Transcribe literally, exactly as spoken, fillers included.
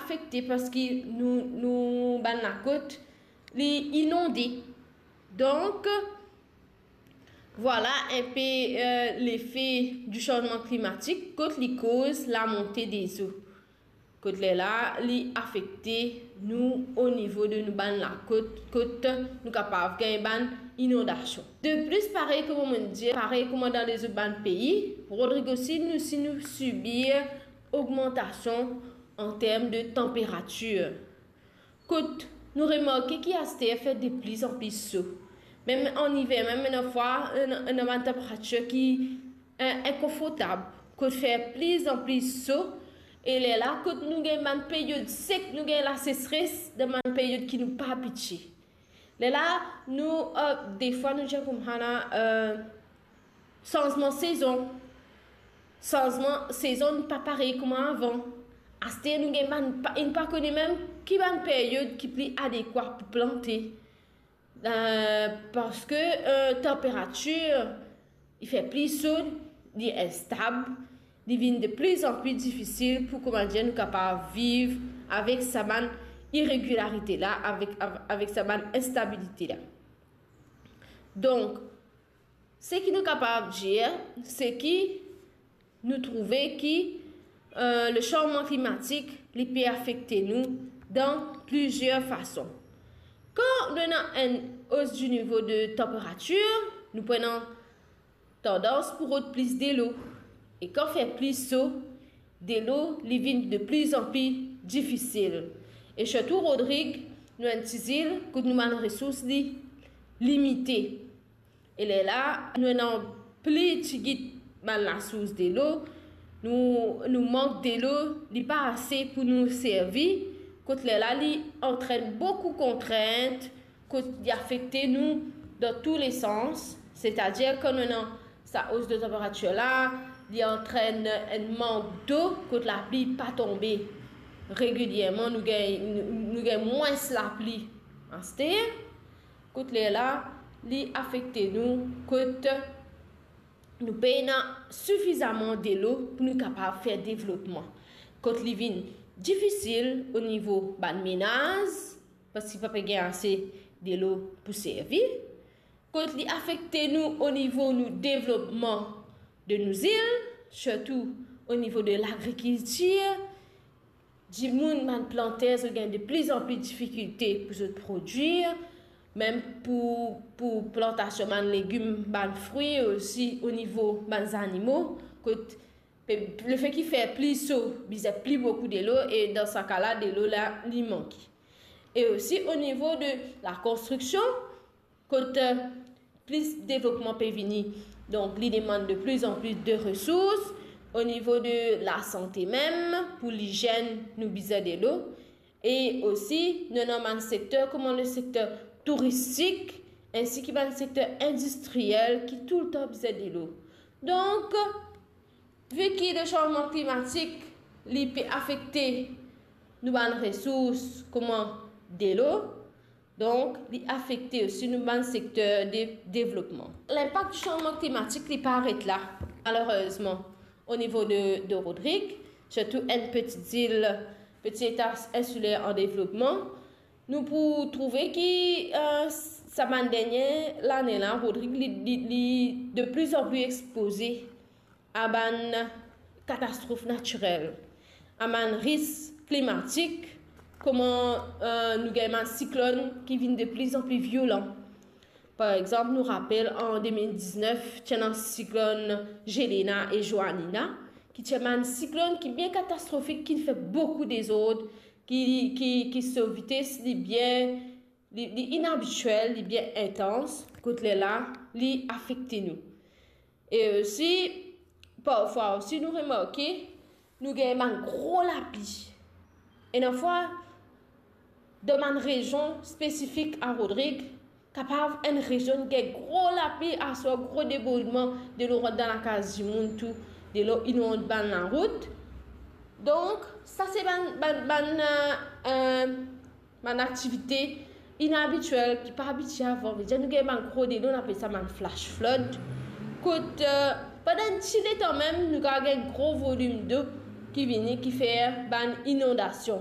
afekte parski nou, nou bann lakot, li inonde. Donk, vwala enpe, eh, lefe di sanzman klimatik, kot li koz lamonte dezo. Kot lerla, li afekte nou o nivo de nou bann lakot, kot nou kapav gagn bann inondasion. De plis, parey kouma mo dir, parey kouma dan lezot bann pei, Rodrig osi, nou, si nou sibir ogmantasion an term de tanperatir. Kot nou remarke ki aster fer de plis an plis so. Mem an iver, mem ena fwa, ena, ena bann tanperatir ki, eh, inkonfortab, kot fer plis an plis so, e lerla, kot nou gagn bann peryod sek, nou gagn laseseres dan bann peryod ki nou pa abitie. Lerla, nou, eh, defwa, nou dir koumsa la, eh, sanzman sezon. Sanzman sezon pa parey kouma avan. Aster nou gagn bann pa, nou pa kone mem ki bann peryod ki pli adekwa pou plante. Eh, parski, eh, tanperatir, li fer pli so, li instab, li vinn de plis an pli difisil pou, kouma dir, nou kapav viv avek sa bann iregilarite la, avek, av-, avek sa bann instabilite la. Donk, seki nou kapav dir, seki nou trouve ki, eh, le sanzman klimatik, li pe afekte nou dan plizier fason. Kan nou ena enn os di nivo de tanperatir, nou pou ena tandans pou rod plis delo. E kan fer plis so, delo, li vinn de plis an plis difisil. E sirtou Rodrig, nou enn ti zil kot nou bann resours, li limite. E lerla, nou ena pli tigit bann lasours delo, nou, nou mank delo, li pa ase pou nou servi, kot lerla, li antrenn boukou kontrint, kot li afekte nou dan tou le sans, setadir kan nou ena sa os de tanperatir la, li antrenn enn mank dlo, kot lapli pa tonbe regilierman, nou gagn, nou, nou gagn mwins lapli aster. Kot lerla, li afekte nou, kot nou pena sifizaman delo pou nou kapav fer devlopman. Kot li vinn difisil o nivo bann menaz, parski pa pe gagn ase delo pou servi. Kot li afekte nou o nivo nou devlopman de nou zil, sirtou o nivo de lagrikiltir, dimoun, bann planter, zot gagn de plis an plis difikilte pou zot prodwir, mem pou, pou plantasion bann legim, bann frwi, osi o nivo bann zanimo, kot pe, lefet ki fer pli so, bizin pli boukou delo, e dan sa ka la, delo la, li manke. E osi o nivo de lakonstriksion, kot, eh, plis devlopman pe vini, donk li demann de plis an plis de resours. O nivo de lasante mem, pou lizenn, nou bizin delo. E osi, nou ena bann sekter, kouma le sekter touristik, ensi ki bann sekter indistriyel ki toultan bizin delo. Donk, vi ki le sanzman klimatik, li pe afekte nou bann resours kouma delo, donk, li afekte osi nou bann sekter de devlopman. Linpak di sanzman klimatik, li pa aret la, malerezman, o nivo de, de Rodrig, sirtou enn peti zil, peti eta insiler an devlopman. Nou pou trouve ki, eh, sa bann dernie lane la, Rodrig, li, li, li de plis an plis expoze a bann katastrof natirel, a bann risk klimatik, kouma, eh, nou gagn bann siklonn ki vinn de plis an plis violan. Par exanp, nou rapel an de mil diznef, ti ena siklonn Jelena e Joanina, ki ti bann siklonn ki bien katastrofik, ki fer boukou dezord, ki, ki, ki so vites li bien, li, li inabitiel, li bien intans, kot lerla, li afekte nou. E osi, parfwa osi, nou remarke, nou gagn bann gro lapli. Ena fwa, dan bann rezion spesifik a Rodrig, kapav enn rezion gagn gro lapli, aswar gro debordman, delo rant dan lakaz dimoun tou, delo inond bann larout. Donk, sa se bann, bann, bann, eh, eh, bann aktivite inabitiel ki pa abitie avan. Vedir nou gagn bann gro delo, nou apel sa bann flash flood. Kot, eh, pandan enn ti letan mem, nou kapav gagn gro volim dlo ki vini, ki fer bann inondasion.